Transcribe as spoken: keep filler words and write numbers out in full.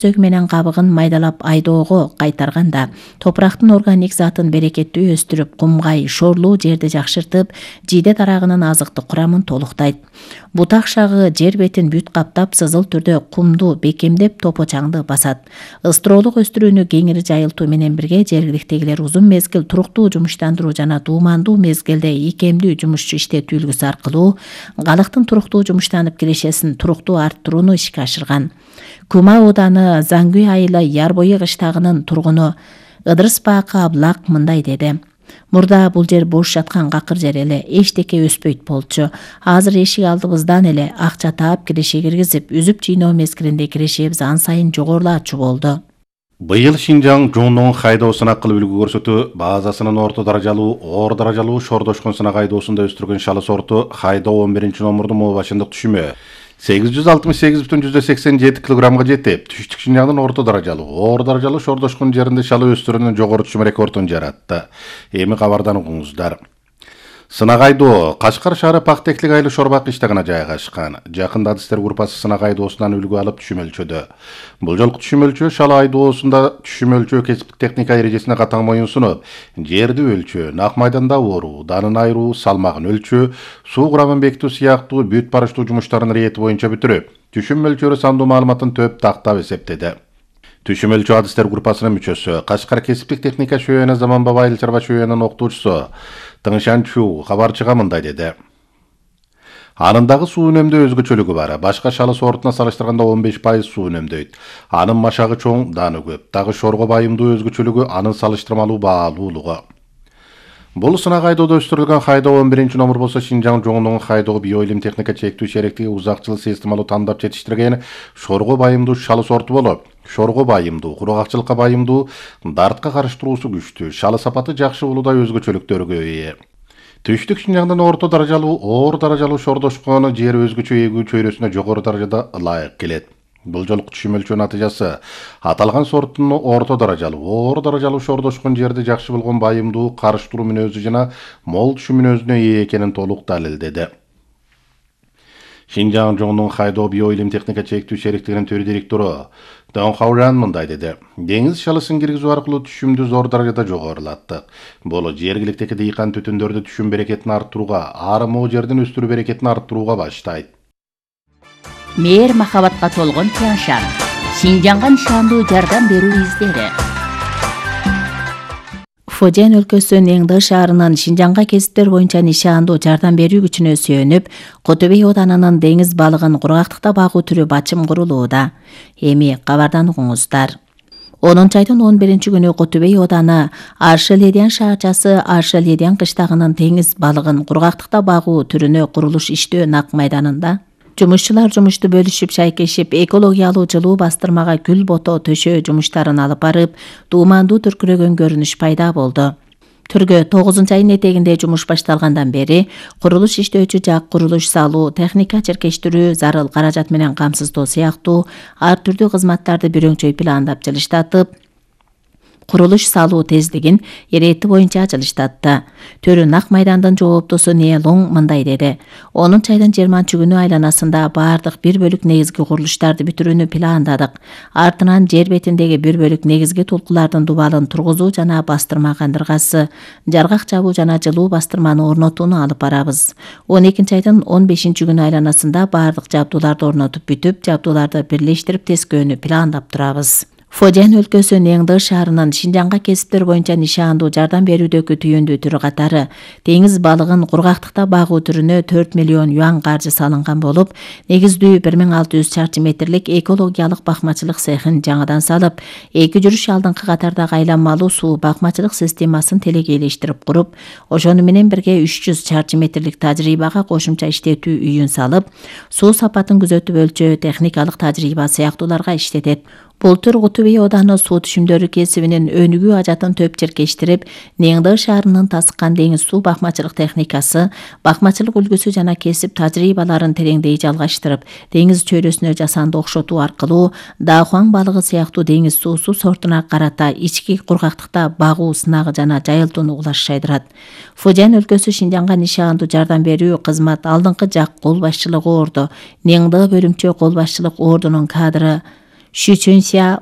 сөг менен кабыгын майдалап айдоого кайтарганда топурактын органик затын берекеттүү өстүрүп, кумгай, шорлуу жерди жакшыртып, жийде тарагынын азыктык курамын толуктайт. Бутак шагы жер бетин бүт каптап, сызыл түрдө кумду бекемдеп, топочаңды басат. Ыстыроолук өстүрүүнү кеңири жайылтуу менен бирге жергиликтегилер узун мезгил туруктуу жумуштандыруу жана туумандуу мезгилде ийкемдүү жумушчу иштетүү үлгүсү аркылуу калыктын туруктуу жумуштанып киришесин туруктуу арттырууну ишке ашырган. Кума ооданы Заңгүй айылы Ярбойы кыштагынын тургуну Ыдырыс Баакы Аблак мындай деди. Мурда бул жер бош жаткан какыр жер эле, эчтеке өспөйт болчу. Азыр эшик алдыбыздан эле акча таап киреше киргизип, үзүп жыйноо мезгилинде кирешебиз ан сайын жогорулаачу болду. Быйыл Шинжаң жоңдон хайдоо сынак кылып үлгү көрсөтүү базасынын орто даражалуу, оор даражалуу шордошкон сынак айдоосунда өстүргөн шалы сорту хайдоо он биринчи номурдун мобашындык түшүмү сегиз жүз алтымыш сегиз бүтүн жүздөн сексен жети килограммга жетип, түштүк Шинжаңдын орто даражалуу, оор даражалуу шордошкон жеринде шалы өстүрүүнүн жогору түшүм рекордун жаратты. Эми кабардан угуңуздар. Сынак айдоо Кашкар шаары Пактеклик айыл Шорбак кыштагына жайгашкан. Жакында адистер группасы сынак айдоосунан үлгү алып түшүм өлчөдү. Бул жолку түшүм өлчөө шалы айдоосунда түшүм өлчөө кесиптик техника эрежесине катаң моюнсунуп, жерди өлчөө, нак майданда ооруу, данын айыруу, салмагын өлчөө, суу курамын бекитүү сыяктуу бүт барыштуу жумуштарын рети боюнча бүтүрүп, түшүм өлчөрү сандуу маалыматын төп тактап эсептеди. Түшүм өлчөө адистер группасынын мүчөсү, Кашкар кесиптик техника шөөнө Заманбап айыл чарба шөөнүнүн окутуучусу Тыңшанчу кабарчыга мындай деди. Анындагы суу үнөмдөө өзгөчөлүгү бар. Башка шалы сортуна салыштырганда он беш пайыз суу үнөмдөйт. Анын машагы чоң, даны көп. Дагы шорго байымдуу өзгөчөлүгү анын салыштырмалуу баалуулугу. Бул сынак айдоодо өстүрүлгөн хайдоо он биринчи номур болсо Шинжаң жоңдон хайдоо биоилим техника чектүү шериктиги узак жыл системалуу тандап жетиштирген шорго байымдуу шалы сорту болуп, шорго байымдуу, кургакчылыкка байымдуу, дартка каршы туруусу күчтүү, шалы сапаты жакшы уулудай өзгөчөлүктөргө ээ. Түштүк Шинжаңдын орто даражалуу, оор даражалуу шордошкон жер өзгөчө эгүү чөйрөсүнө жогору даражада ылайык келет. Бул жолку түшүм өлчөө натыйжасы аталган сорттун орто даражалуу, оор даражалуу шордошкон жерди жакшы болгон байымдуу, каршы туруу мүнөзү жана мол түшүм мүнөзүнө ээ экенин толук далилдеди. Шинжаң жоңдон хайдоо биоилим техника чектүү шериктигинин төр директору Дон Хаужан мындай деди. Деңиз шалысын киргизүү аркылуу түшүмдү зор даражада жогорулаттык. Бул жергиликтеги дыйкан түтүндөрдү түшүм берекетин арттырууга, ары moo жердин өстүрүү берекетин арттырууга баштайт. Мээр махабатка толгон Тяншан. Шинжаңга нишандуу жардам берүү издери. Фожен өлкөсүнүн Эңды шаарынын Шинжаңга кесиптер боюнча нишандуу жардам берүү күчүнө сүйөнүп, Котөбөй оданынын деңиз балыгын кургактыкта багуу түрү бачым курулууда. Эми кабардан угуңуздар. онунчу айдын он биринчи күнү Котөбөй ооданы Аршы-Ледян шаарчасы Аршы-Ледян кыштагынын деңиз балыгын кургактыкта багуу түрүнө курулуш иштөө нак майданында жумушчулар жумушту бөлүшүп шайкешип, экологиялуу жылуу бастырмага гүл бото төшөө жумуштарын алып барып, туумандуу түркүрөгөн көрүнүш пайда болду. Түргө тогузунчу айдын этегинде жумуш башталгандан бери курулуш иштөөчү жак, курулуш салуу, техника черкештирүү, зарыл каражат менен камсыздоо сыяктуу ар түрдүү кызматтарды бирөңчөй пландап жылыштатып, курулуш салуу тездигин эрети боюнча жылыштатты. Төрү нак майдандын жооптусу Нелоң мындай деди. онунчу айдын жыйырманчы күнү айланасында баардык бир бөлүк негизги курулуштарды бүтүрүүнү пландадык. Артынан жер бетиндеги бир бөлүк негизги тулкулардын дубалын тургузуу жана бастырма кандыргасы, жаргак жабуу жана жылуу бастырманы орнотууну алып барабыз. он экинчи айдын он бешинчи күнү айланасында баардык жабдууларды орнотуп бүтүп, жабдууларды бирлештирип тескөөнү пландап турабыз. Фожен өлкөсүнүн Эңды шаарынын Шинжаңга кесиптер боюнча нишандуу жардам берүүдөгү түйүндүү түрү катары деңиз балыгын кургактыкта багуу түрүнө төрт миллион юан каржы салынган болуп, негиздүү бир миң алты жүз чарчы метрлик экологиялык бакмачылык цехин жаңыдан салып, эки жүрүш алдыңкы катардагы айланмалуу суу бакмачылык системасын телегейлештирип куруп, ошону менен бирге үч жүз чарчы метрлик тажрыйбага кошумча иштетүү үйүн салып, суу сапатын күзөтүп өлчөө, техникалык тажрыйба сыяктууларга иштетет. Бул түр Котөбөй ооданы суу түшүмдөрү кесибинин өнүгүү ажатын төп черкештирип, Эңды шаарынын тасыккан деңиз суу бакмачылык техникасы, бакмачылык үлгүсү жана кесип тажрыйбаларын тереңдей жалгаштырып, деңиз чөйрөсүнө жасанды окшотуу аркылуу Даахуаң балыгы сыяктуу деңиз суусу сортуна карата ички кургактыкта багуу сынагы жана жайылтууну улашшайдырат. Фожен өлкөсү Шинжаңга нишандуу жардам берүү кызмат алдыңкы жак кол башчылыгы ордо, Эңды бөлүмчө кол башчылык ордунун кадры Щучунся